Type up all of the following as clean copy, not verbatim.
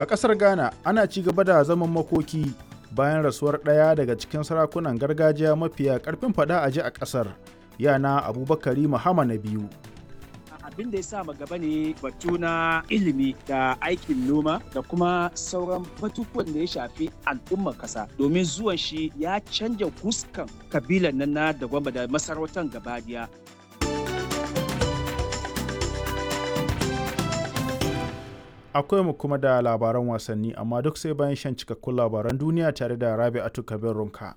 A ƙasar Ghana, ana ci gaba da zaman makoki bayan rasuwar ɗaya daga cikin sarakunan gargajiya mafiya ƙarfin faɗa a ji a ƙasar, Yana Abubakari Mahama na biyu. Abin da ya sa gaba ne batu na ilimi da aikin noma da kuma sauran batutuwan da ya shafi al'ummar kasa, domin zuwan shi ya canja fuskan kabilan nan na Dagwamba da masarautar gabadiya. Akwai mu kuma da labaran wasanni, amma duk sai bayan shan cikakkun labaran duniya tare da Rabi'atu Kabir Runka.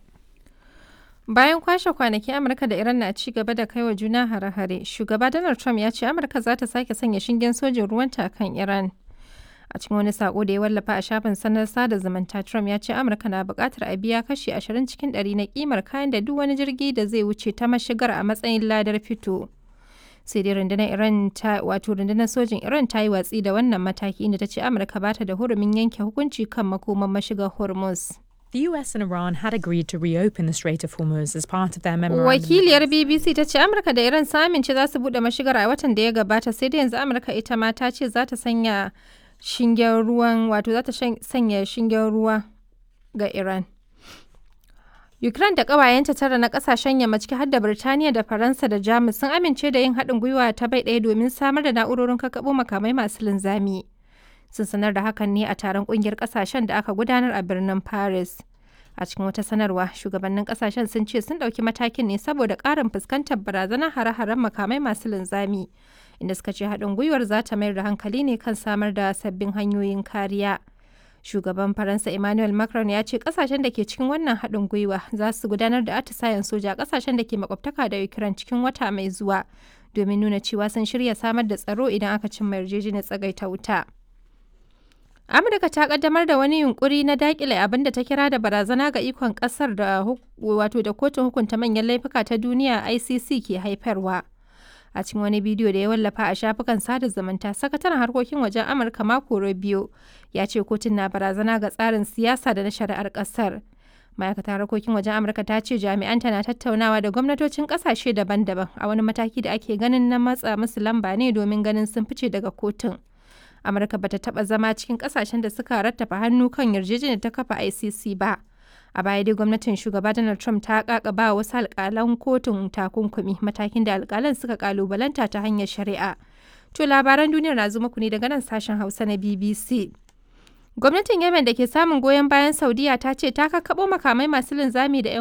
Bayan kwashe kwanaki Amurka da Iran na ci gaba da kaiwa juna hare-hare, Shugaba Donald Trump ya ce Amurka za ta sake sanya shingen sojin ruwanta kan Iran. A cikin wani sako da ya wallafa a shafin sanar sada zumunta, Trump ya ce Amurka na buƙatar a biya kashi 20 cikin 100 na kimar kayan da duk wani jirgi da zai wuce ta mashigar a matsayin ladar fito. Sai dai rundunar Iran ta wato rundunar sojin Iran ta yi watsi da wannan mataki, inda ta ce Amurka ba ta da hurumin yanke hukunci kan makoman mashigar Hormuz. The US and Iran had agreed to reopen the Strait of Hormuz as part of their memorandum. Wakiliyar BBC ta ce Amurka da Iran sun amince za su bude mashigar a watan da ya gabata, sai dai yanzu Amurka ita ma ta ce za ta sanya shingen ruwan, wato za ta sanya shingen ruwa ga Iran. Ukraine da ƙawayenta tara na ƙasashen yamma, ciki har da Birtaniya da Faransa da Jamus, sun amince da yin haɗin gwiwa ta bai ɗaya domin samar da na'urorin kakkaɓo makamai masu linzami. Sun sanar da hakan ne a taron ƙungiyar ƙasashen da aka gudanar a birnin Paris. A cikin wata sanarwa, shugabannin ƙasashen sun ce sun ɗauki matakin ne saboda ƙarin fuskantar barazanar hare-haren makamai masu linzami, inda suka ce haɗin gwiwar za ta mayar da hankali ne kan samar da sabbin hanyoyin kariya. Shugaban Faransa Emmanuel Macron ya ce kasashen da ke cikin wannan haɗin gwiwa za su gudanar da atisayen soja a kasashen da ke makwabtaka da Ukraine cikin wata mai zuwa domin nuna cewa sun shirya samar da tsaro idan aka cimma yarjejeniyar tsagaita wuta. Amurka ta kaddamar da wani yunkuri na dakile abin da ta kira da barazana ga ikon kasar da wato da kotun hukunta manyan laifuka ta duniya ICC ke haifarwa. A cikin wani bidiyo da ya wallafa a shafukan sada zumunta, sakataren harkokin wajen Amurka Marco Rubio ya ce kotun na barazana ga tsarin siyasa da na shari'ar kasar. Ma'aikatar harkokin wajen Amurka ta ce jami'anta na tattaunawa da gwamnatocin kasashe daban-daban a wani mataki da ake ganin na matsa musu lamba ne domin ganin sun fice daga kotun. Amurka bata taba zama cikin kasashen da suka rattafa hannu kan yarjejeniyar ta kafa ICC ba. A baya dai gwamnatin Shugaba Donald Trump ta kakaba wasu alkalan kotun takunkumi, matakin da alkalan suka kalubalanta ta hanyar shari'a. To, labaran duniyar na zo muku ne daga nan sashen Hausa na BBC. Gwamnatin Yemen da ke samun goyon bayan Saudiya ta ce ta kakkaɓo makamai masu linzami da 'yan